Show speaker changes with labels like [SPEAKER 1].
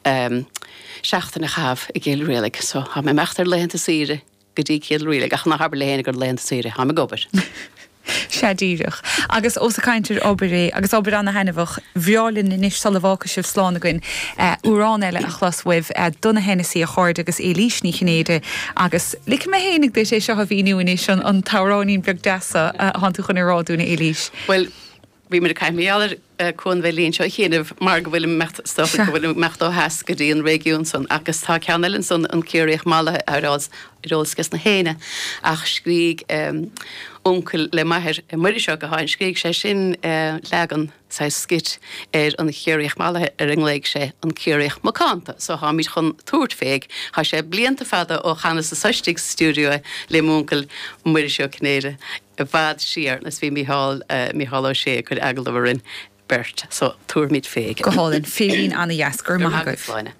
[SPEAKER 1] Seachtain a chaitheamh i gCill Rialaig. So, tá mé ag imeacht ar laethanta saoire go dtí Cill Rialaig, ach ná habair le héinne gur laethanta saoire, táim ag obair.
[SPEAKER 2] Sea díreach. Agus ós ag caint ar obair é, agus obair ana-thaitneamhach, bhreá linn anois sula bhfágfaidh sibh slán againn, amhrán eile a chlos uaibh, Donogh Hennessy a chairde agus Éilís Ní Chinnéide agus ligfidh mé fhéinig duit é seo a mhíniú anois, an t-amhráinín beag deas seo atánn tú chun a rá dúinn a Éilís.
[SPEAKER 1] Bhuel, Bhí muid ag caint mar gheall ar Cuan Mheidhlín seo a chianaibh mar go bhfuilim imeacht, is dócha go bhfuilim imeacht ó theas go dtí an réigiún san agus tá ceann eile ansan, An Ciarraíoch Mallaithe ar eolas ages na héinne ach scrígh uncail le m'athair, Muiris Ó Catháin, scrígh sé sin leagan, saghas skit, ar An Chiarraíoch Mallaithe ar a nglaoigh sé An Ciarraíoch Macánta so táimid chun tabhairt fé. Tá sé blianta fada ó chanas anso istigh sa stiúideo é le m'uncail Muiris Ó Cinnéide. i bhfad siar agus bhí Mícheál, Mícheál Ó Sé ag cur agallamh orainn beirt so tabharfaimid fé.
[SPEAKER 2] Go hálainn. Féirín ana-dheas. Go raibh maith agaibh. Sláine.